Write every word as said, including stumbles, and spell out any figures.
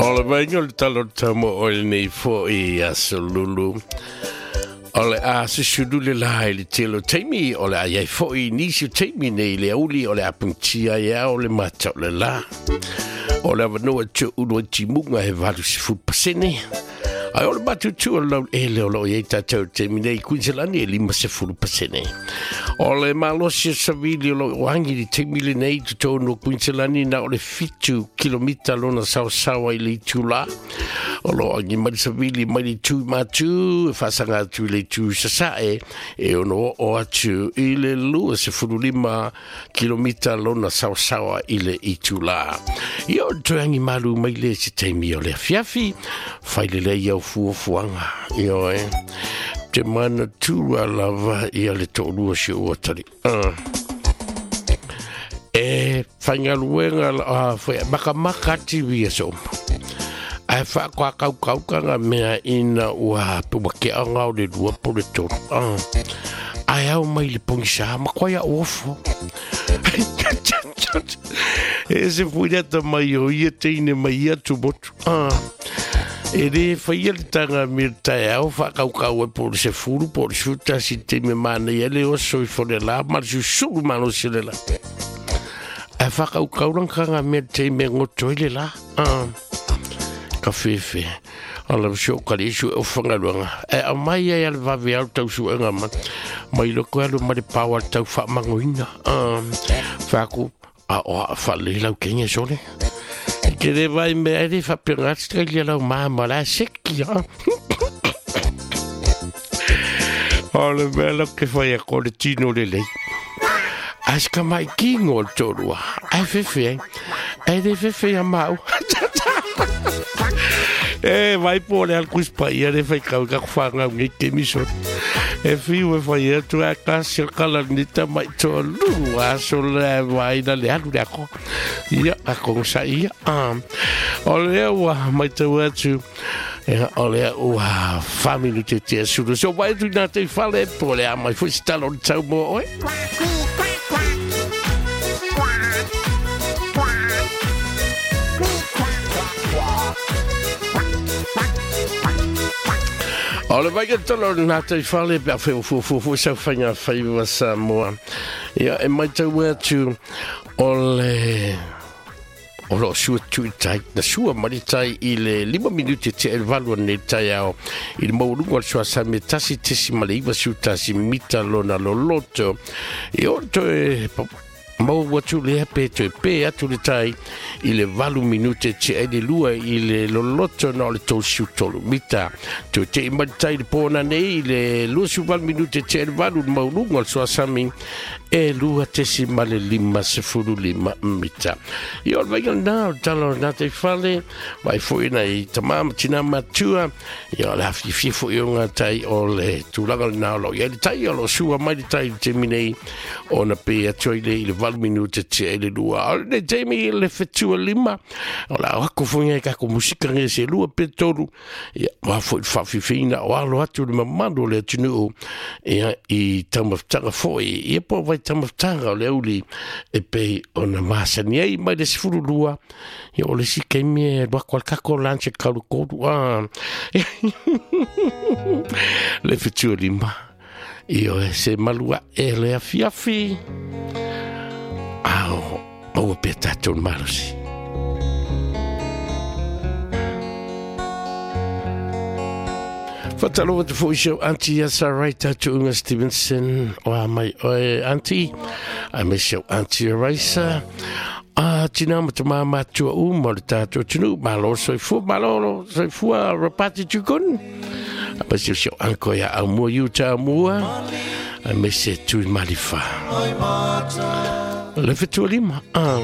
O le vainga o le talo tamo o le nei fo i asolulu. O le a susulu le la i le telo taimi, o le a iai fo i nisi o taimi nei le auli o le apuntia ia o le mata o le la. O le avanoa tio ulu ai timunga he valu sifu pasene. Ai o le matutu o lau ele o lo iai tātou taimi nei Queensland e lima sefulu pasene. O le malosi o savili o lo oangi li taimi le nei tutonu o Queensland na o le fitu kilomita lona saosawa i le itu la. O lo angi mai savili mai le tu matu, e whaasanga atu i le tu sasae, e ono o atu i le lua sefulu lima kilomita lona saosawa i le itu la. I o te angi malu mai le se taimi o le afiafi, whaile le iau fuafuaga ioe te mana tua lava ia le to'olua si ou atali uh. E faigaluega uh, makamaka ati ia so'oma ae fa'akoakaukaukaga mea ina ua ua ke'aga o le lua po le tolu uh. Ae ao mai le pogisā makoai a'u ofo. E se fuilata mai o ia teine mai ia tumotu uh. E re whaia le tanga me tae au whakaukau e po le se furu po le suta si te me mana ia le oso i fone la ma le susulu malo se le la. E whakaukau rangkanga me te me ngoto i le la. Uh. Ka whewhe. Ala sio kari isu e whangaluanga. E au mai ai ale wawe au tau suenga ma. Mai loko alu ma le pāwa tau whaamangoina. Uh. Whaaku a oa whaale lau kenge sole. Ke le vai me ere whapenga Australia lau maama la seki ha. O le mea lau ke whai a ko le tino le lei. Aska mai kingo le tōrua. Ai whewhe ai. Ai le whewhe a mau. E vai po le al kuspa ia le whai kau ka whangau ngi ke miso. E whiu e whai atu a kasi o kala nita mai tō lu a so le vai na le alu le ako. Ia, a konga ia. Um, o lea ua mai tau atu, o lea ua whaminu te tea sulu. So vai atu nā te whale, po lea mai fo si talo le tau mō oe. O le vai tolo nā te whale, pea wheo fu fu fu sau whainga whaiwa sa moa. Ia, e mai tau atu o le... O lo sua tui tai, na sua maritai i le lima minute te el valua nei tai ao. I le maulunga o le sua sa me tasi tesi male iwa siutasi mita lona loloto. I o toe... Mau atu le hape toe pe atu le tai i le valu minute te e le lua i le loloto na o le tolu siutolu mita. Toe te i maritai le pōna nei i le lua siu valu minute te e le valu le maulunga o le suasami e lua tesi ma le lima sefulu lima mita. I o le vainga nā o le tala o nā te whale, vai foi nei tamama tina matua, i o le hafifi foi o ngā tai o le tūlanga le nā o lo. I le tai o lo sua mai le tai le te minei o na pe atu ai le i le valu minute te e le lua. O le taimi le fetua lima, o la wako whangai kako musika nge se lua pe tolu, ia wā foi whawhiwhina o alo atu le mamanu o le atunuu, ia i tamawtanga foi, ia po vai tamawtanga o le auli e pei o na masani ai mai le sifuru lua, ia o le si keimi e wako al kako lanche kauru koru, ah. Le fetua lima, ia o se malua e le afiafi. Ao, maua pea tātou malosi. Whataloa te fo isau auntie ia Sarai Tatuunga Stevenson o a mai oe auntie. A me seu auntie Raisa. A tina ma te māmatua uma o le tātou tunu. Malo soifua, malo soifua rapati tukun. A me seu seu anko ia au mua iuta au mua. A me se tui malifa. Le fetua lima. Ah.